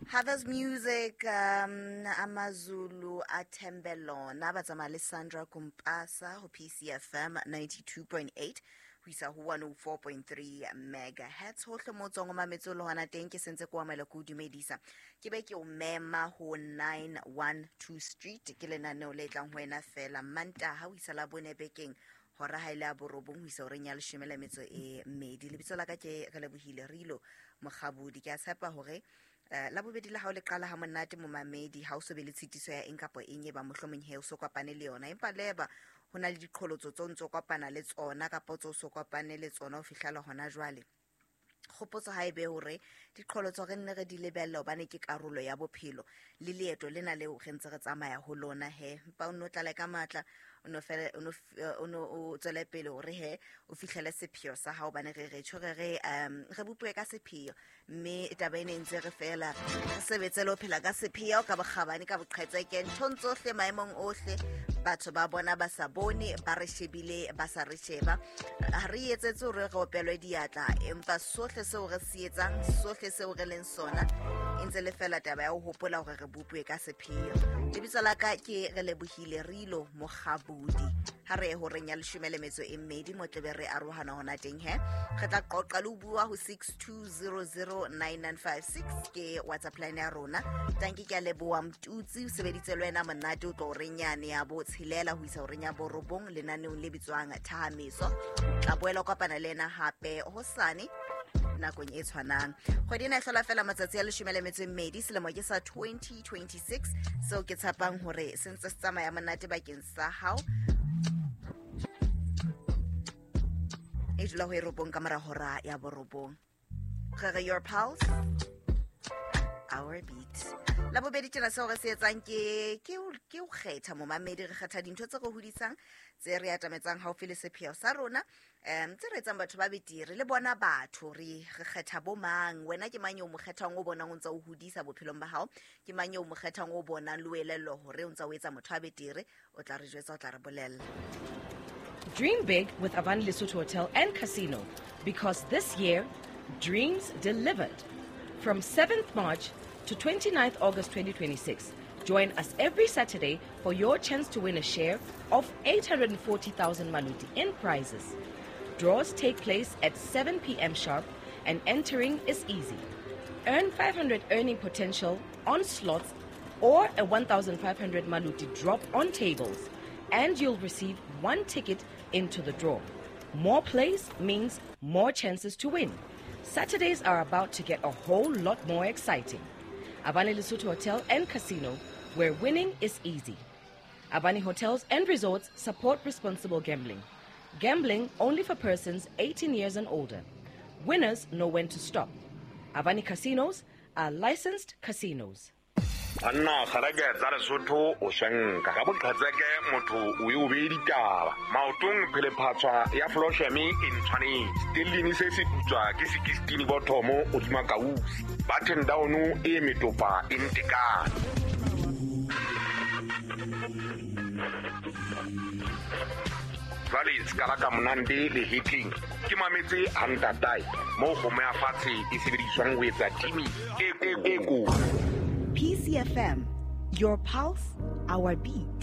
Harvest Music, Amazulu Atembelona ba tsamaya le Sandra Kumpasa ho PCFM 92.8 ho isa ho 104.3 megahertz. Hohle mo tswang o mametse o le hona teng, ke sentse ke o amela, ke o dumedisa, ke be ke o mema ho 912 Street. Ke lenaneo le tlang ho wena fela Mantaha ho isa la bone bekeng, hora ha ile a borobong ho isa horeng ya leshome le metso e mmedi. Lebitso la ka ke Relebohile Rilo Mokgabodi. Ke a tshepa hore la bobedi la hao le qala ha monate, momamedi, ha o so be le tshitiso ya eng kapa eng e ba mohlomong he o so kopane le yona, empa leba ho na le diqholotso tse o ntso kopana le tsona kapa tse o so kopane le tsona ho fihlela hona jwale. Kgopotso ha e be hore diqholotso re nne re di lebelle, hobane ke karolo ya bophelo le leeto lena leo re ntse re tsamaya ho lona. He mpa o nno tlale ka matla, o no fele, o no o tswele pele hore he o fihlele sepheo sa hao, hobane re re tjho re re re bopuwe ka sepheo, mme taba ene e ntse re fela re sebetse le ho phela ka sepheo, ka bokgabane, ka boqhetseke, nthong tsohle, maemong ohle, batho ba bona ba sa bone, ba re shebile ba sa re sheba. Ha re etsetse hore re opelwe diatla, empa sohle seo re se etsang, sohle seo re leng sona, e ntse le fela taba ya ho hopola hore re bopuwe ka sepheo. Lebitso la ka ke Relebohile Rilo Mokgabodi. Ha re ye horeng ya leshome le metso e mmedi, mo tlebe re arohana hona teng. He re tla qoqa le ho bua ho 62009956, ke WhatsApp line ya rona. Tanki, ke a leboha. Mtutsi o sebeditse le wena monate o tlo horeng yane ya bo tshelela ho isa horeng ya borobong lenaneong le bitswang Thahameso. Tla boela o kopana le ena hape hosane nakong e tshwanang. Kgwedi ena e hlola fela matsatsi a leshome le metso e mmedi, selemo ke sa 2026, seo ke tshepang hore se ntse se tsamaya monate bakeng sa hao. E dula ho e robong ka mora hora ya borobong. Re re, your pulse, our beat. La bobedi tjena seo re se etsang ke ho kgetha, momamedi. Re kgetha dintho tse re hodisang, tse re atametsang haufi le sepheo sa rona, tse re etsang batho ba betere le bona batho. Re kgetha bo mang? Wena ke mang eo mo kgethang, o bonang o ntse o hodisa bophelong ba hao? Ke mang eo mo kgethang, o bonang le o elellwa hore o ntse o etsa motho a betere? O tla re jwetsa, o tla re bolella. Dream big with Avani Lesotho Hotel and Casino, because this year, dreams delivered. From 7th March to 29th August 2026, join us every Saturday for your chance to win a share of 840,000 maluti in prizes. Draws take place at 7 p.m. sharp and entering is easy. Earn 500 earning potential on slots or a 1,500 maluti drop on tables, and you'll receive one ticket into the draw. More plays means more chances to win. Saturdays are about to get a whole lot more exciting. Avani Lesotho Hotel and Casino, where winning is easy. Avani Hotels and Resorts support responsible gambling. Gambling only for persons 18 years and older. Winners know when to stop. Avani Casinos are licensed casinos. Banna, kgareke tsa Lesotho o swenka ka boqhetseke, motho o e o bee ditaba maotong, phelephatswa ya flosheme e ntshwanetse stellini se se putswa ke 16 bothomo hodima kausi button down e metopa e ntekane. Jwale se ka monande le hitting ke mametse hantatae moo kgomo ya fatshe e sebediswang ho etsa timi e ko. PCFM, your pulse, our beat.